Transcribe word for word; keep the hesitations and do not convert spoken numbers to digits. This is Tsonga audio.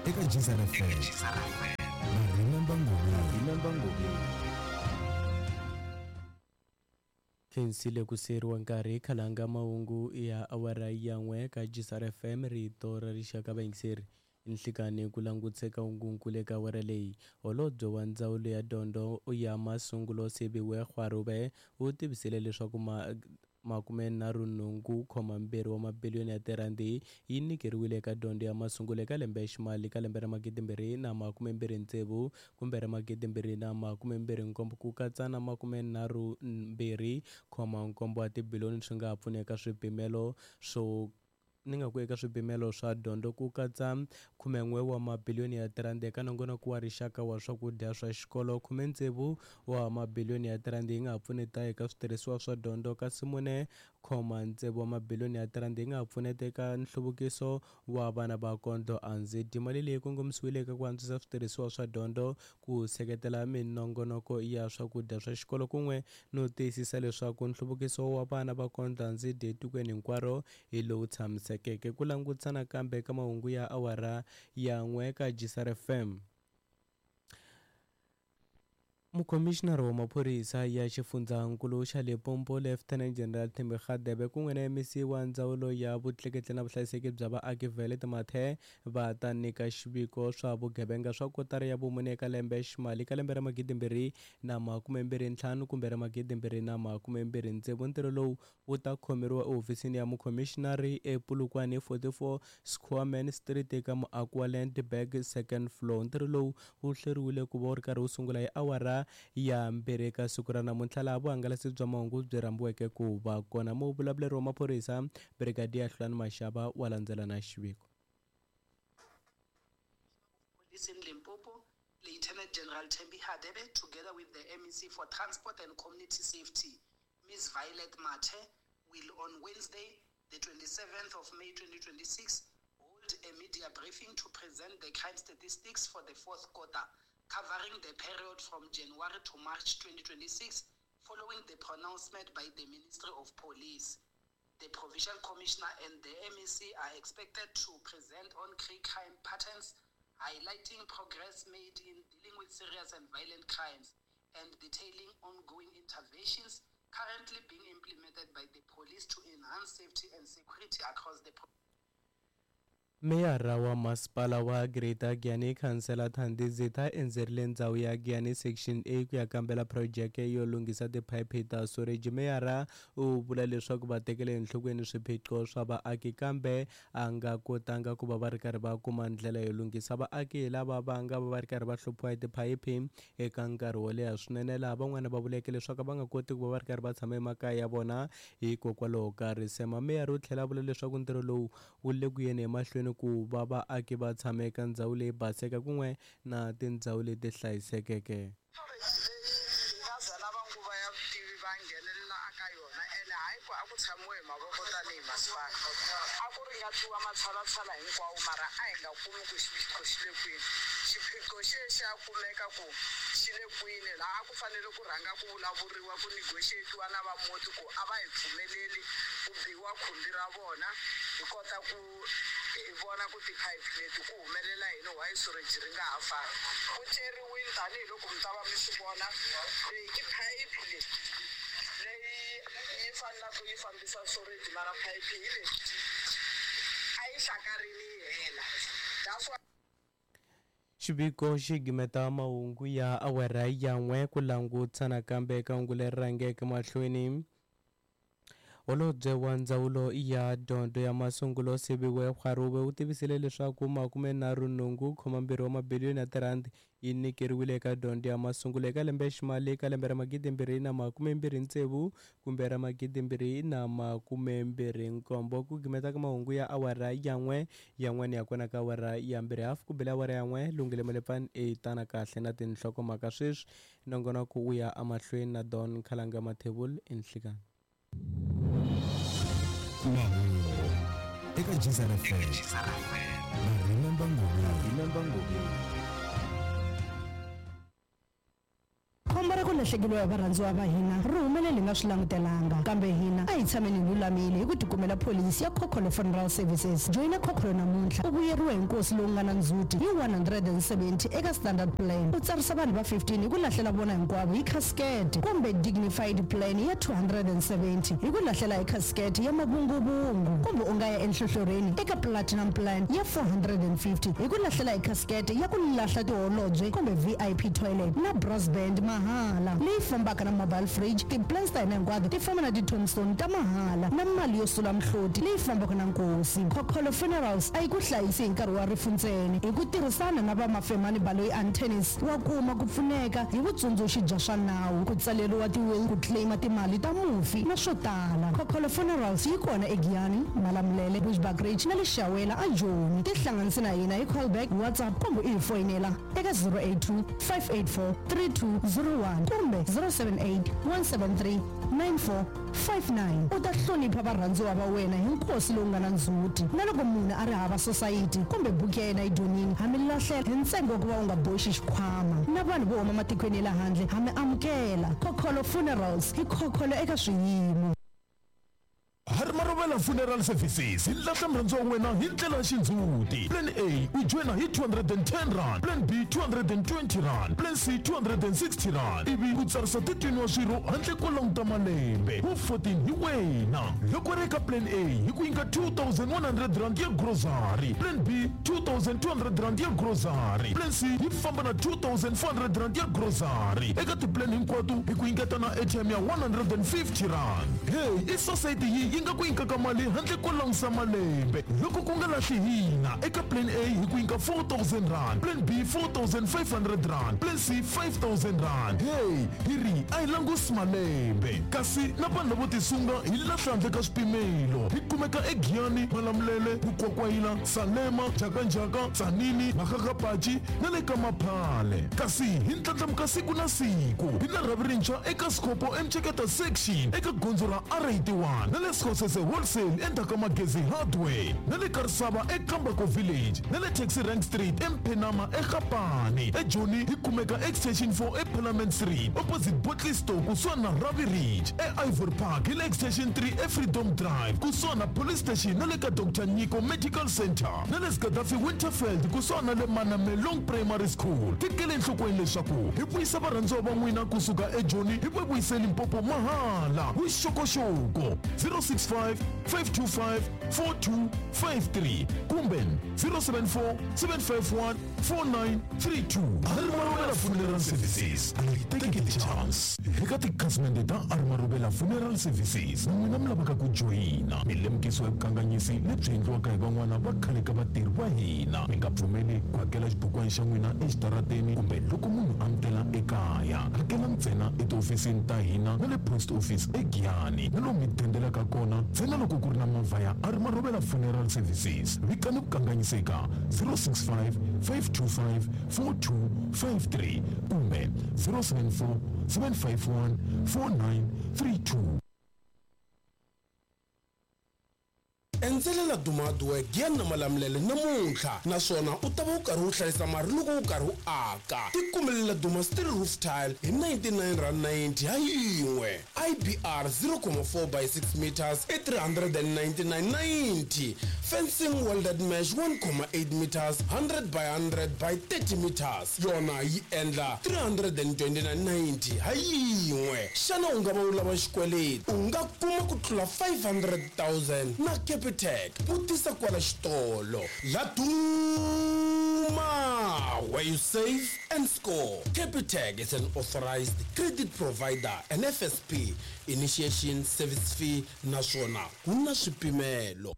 Eka Gzar F M. Na Remember Ngobeni. Remember Ngobeni. Khensile ku siyeriwa nkarhi khalanga mahungu ya awara ya n'we ka Gzar F M rito ra rixaka vayingiseri. Nhlikani ku languteka hungunkulu eka awara leyi. Holobye wa ndzawulo ya dyondzo ya masungulo Siviwe Gwarube u tivisile leswaku ma makume nharhu nhungu khoma mbirhi wa mabiliyoni ya tirhandi yi nyikeriwile eka dyondzo ya masungulo eka lembe ximali ka lembe ra magidi mbirhi na makume mbirhi tsevu kumbe ra magidi mbirhi na makume mbirhi nkombo ku katsa na makume nharhu mbirhi khoma nkombo wa tibiliyoni swi nga pfuna eka swipimelo swo ni nga ku eka swipimelo swa dyondzo ku katsa khumen'we wa mabiliyoni ya tirhandi eka nongonoko wa rixaka wa swakudya swa xikolo, khume tsevu wa mabiliyoni ya tirhandi yi nga pfuneta eka switirhisiwa swa dyondzo, kasi mune khoma tsevu wa mabiliyoni ya tirhandi yi nga pfuneta eka nhluvukiso wa vana va kondlo-a-ndzi-dyi. Mali leyi kongomisiwile eka ku antswisa switirhisiwa swa dyondzo, ku seketela minongonoko ya swakudya swa xikolo kun'we no tiyisisa leswaku nhluvukiso wa vana va kondlo-a-ndzi-dyi etikweni hinkwaro hi lowu tshamisekeke. Ku langutisa nakambe eka mahungu ya awara ya n'we ka Gzar F M. Mukhomixinari wa maphorisa ya xifundzankulu xa Limpopo Lieutenant General Thembi Radebe kun'we na M E C wa ndzawulo ya vutleketli na vuhlayiseki bya vaaki Violet Mathe va ta nyika xiviko swa vugevenga swa kotara ya vumune eka lembe ximali ka lembe ra magidi mbirhi na makume mbirhi ntlhanu kumbe ra magidi mbirhi na makume mbirhi tsevu. Ntirho lowu wu ta khomeriwa ehofisini ya mukhomixinari ePolokwane forty-four Squarman Street eka muako wa Landbank second floor. Ntirho lowu wu hleriwile ku va wu ri karhi wu sungula hi awara ya mbirhi eka siku ra namuntlha, laha vuhangalasi bya mahungu byi rhambiweke ku va kona. Muvulavuleri wa maphorisa Brigadier Hlulani Mashaba wa landzela na xiviko. Police in Limpopo, Lieutenant General Thembi Radebe, together with the M E C for Transport and Community Safety, Miz Violet Mathe, will on Wednesday, the twenty-seventh of May twenty twenty-six, hold a media briefing to present the crime statistics for the fourth quarter, covering the period from January to March twenty twenty-six, following the pronouncement by the Ministry of Police. The Provincial Commissioner and the M E C are expected to present on key crime patterns, highlighting progress made in dealing with serious and violent crimes, and detailing ongoing interventions currently being implemented by the police to enhance safety and security across the province. Meyara wa masipala wa Greater Giyani Khansela Thandi Zitha endzerile ndzhawu ya Giyani Section A ku ya kambela phurojeke yo lunghisa tiphayiphi ta storage. Meyara u vula leswaku va tekele enhlokweni swiphiqo swa vaaki kambe a nga kotanga ku va va ri karhi va kuma ndlela yo lunghisa. Vaaki hi lava va nga va va ri karhi va hluphiwa hi tiphayiphi eka nkarhi wo leha swinene, laha van'wana va vuleke leswaku va nga koti ku va va ri karhi va tshama emakaya ya vona hikokwalaho ka risema. Meyara u tlhela a vula leswaku ntirho lowu wu le ku yeni emahlweni ku va vaaki va tshama eka ndhawu leyi baseke kun'we na tindhawu leti hlayisekeke. Leyi nga za lava nguva ya vutivi va nghenelela aka yona ene hayi ku a ku tshamiwe hi mavoko tanihi masipala, a ku ringatiwa matshalatshala hinkwawo mara a hi nga kumi ku xiphiqo xi le kwini. Xiphiqo xexi a kumeka ku xi le kwini laha a ku fanele ku rhanga ku vulavuriwa ku negotiatiwa na vamuti ku a va hi pfumeleli ku biwa khumbi ra vona hi kota ku hi vona ku tiphayiphi leti ku humelela yini, why storage ri nga ha fani. Ku ceriwile tanihiloko mi ta va mi swi vona, leyi i phayiphi leyi leyi yi faneleke yi fambisa storage mara phayiphi hi leyi a yi hlakarile yi hela. That's why Xiviko xi gimeta mahungu ya awara ya n'we ku langutisa nakambe eka hungu leri rhangeke mahlweni. Holobye wa ndzawulo ya dyondzo ya masungulo Siviwe Gwarube u tivisile leswaku makume nharhu nhungu khoma mbirhi wa mabiliyoni ya tirhandi yi nyikeriwile eka dyondzo ya masungulo eka lembe ximali eka lembe ra magidi mbirhi na makume mbirhi tsevu kumbe ra magidi mbirhi na makume mbirhi nkombo. Ku gimeta ka mahungu ya awara ya n'we yan'wana ya kona ka awara ya mbirhi hafu ku bela awara ya n'we. Lunghile Malepfani e tana kahle na tinhlokomhaka sweswi nongonoko wu ya emahlweni na Don Khalanga Mathebula enhlikani. Mahungu eka Gzar F M. Na Remember Ngobeni. Remember Ngobeni. Khombo ra ku Lahlekeriwa hi varhandziwa va hina ri humelele hi nga swi langutelanga, kambe hina a hi tshameni hi lulamile hi ku tikumela pholisi ya Khokholo Funeral Services. Joyina Khokholo namuntlha u vuyeriwa hi nkosi lowu nga na ndzhuti hi one hundred and seventy eka standard plan. U tsarisa vanhu va fifteen hi ku lahlela vona hinkwavo hi casket, kumbe dignified plan ya two hundred and seventy hi ku lahlela hi casket ya mavunguvungu, kumbe u nga ya enhlohlorhini eka platinum plan ya four hundred and fifty hi ku lahlela hi casket ya ku lahla tiholobye kumbe V I P toilet na brass band mahala leyi fambaka na mobile fridge. Ti-plans ta hina hinkwato ti famba na ti-tombstone ta mahala na mali yo sula mihloti leyi fambaka na nkosi. Khokholo Funerals a yi ku hlayisi hi nkarhi wa rifu ntsena, hi ku tirhisana na va Mafemani Baloyi Antennis wa kuma ku pfuneka hi vutsundzuxi bya swa nawu, ku tsaleriwa ti-will, ku claima timali ta mufi na swo tala. Khokholo Funerals yi kona eGiyani, Malamulele, Bushbuckridge na le Shawela a Joni. Tihlanganise na hina hi callback, WhatsApp kumbe u hi foyinela eka zero eight two, five eight four, three two zero one kumbe zero seven eight, one seven three, nine four five nine. U ta hlonipha varhandziwa va wena hi nkosi lowu nga na ndzhuti. Na loko munhu a ri hava society kumbe buku ya yena yi dyonile, ha mi lahlela hi ntsengo wa ku va u nga boxi xikhwama. Na vanhu vo huma matikweni ya le handle ha mi amukela. Khokholo Funerals hi khokholo eka swiyimo. Harimarovela Funeral Services hi lahla murhandziwa wa wena hi ndlela ya xindzhuti. Plan A u joyina hi two hundred and ten rand, Plan B two hundred and twenty rand, Plan C two hundred and sixty rand, ivi u tsarisa thirteen wa swirho handle ko languta malembe. Wu fourteen hi wena. Loko ri eka Plan A hi ku nyika two thousand one hundred rand ya grocery, Plan B two thousand two hundred rand ya grocery, Plan C yi famba na two thousand four hundred rand ya grocery. Eka ti-plan hinkwato hi ku nyiketa na airtime ya one hundred and fifty rand. Hey, i society yi yi nga ku nyikaka mali handle ko langusa malembe. Loko ku nga lahli hina, eka Plan A hi ku nyika four thousand rand, Plan B four thousand five hundred rand, Plan C five thousand rand. Hey, hi ri a hi langusi malembe. Kasi na vanhu lavo tisunga hi lahla handle ka swipimelo. Hi kumeka eGiyani, Malamulele, Mukwakwayila, Salema, Njhakanjhaka, Tzaneen, Makgakgapatši na le ka Maphale. Kasi hi ndlandlamuka siku na siku. Hi na rhavi rintshwa eka Sikopo eMtsheketa section eka gondzo ra R eighty-one na le Sekgosese Wholesale endzhaku ka Magezi Hardware na le Karisava eKambako Village na le Taxi Rank Street eMphenama eGapane. eJoni hi kumeka Extension four eParliament Street opposite Botley Store kusuhani na Ravi Ridge. E-Ivory Park hi le Extension three eFreedom Drive kusuhani na Police Station na le ka Doctor Nyiko Medical Center na le Gaddafi Winterfeld kusuhani na le Manamelong Primary School. Tekele enhlokweni leswaku hi vuyisa varhandziwa va n'wina kusuka eJoni hi va vuyise Limpopo mahala. Vuxokoxoko zero six five, five two five, four two five three kumbe zero seven four, seven five one, four nine three two. Harimarovela Funeral Services, a yi teki ti-chance. Eka tikhasimende ta Harimarovela Funeral Services, n'wina mi lavaka ku joyina milemukiso ya vukanganyisi lebyi endliwaka hi van'wana va khale ka vatirhi va hina. Mi nga pfumeli ku hakela xibukwana xa n'wina exitarateni kumbe loko munhu a mi tela ekaya. Hakela ntsena etihofisini ta hina na le post office eGiyani na lomu mi dendelaka kona ntsena loko ku ri na movha ya Harimarovela Funeral Services. Vikani vukanganyisi eka zero six five, five two five, four two five three kumbe zero seven four, seven five one, four nine three two. Endzelela Dumadwe Giyani na Malamulele namuntlha, naswona u ta va u karhi u hlayisa mali loko u karhi u aka. Tikumelela Duma Steel Roof Tile hi ninety-nine rand ninety ha yin'we. I B R zero comma four by six meters i three hundred and ninety-nine ninety. Fencing welded mesh one comma eight meters, hundred by hundred by thirty meters. Yona yi endla three hundred and twenty-nine ninety ha yin'we. Xana u nga va u lava xikweleti? U nga kuma ku tlula five hundred thousand na Capitec. Vutisa kwala xitolo. Laduma, where you save and score. Capitec is an authorized credit provider and F S P initiation service fee naswona ku na swipimelo.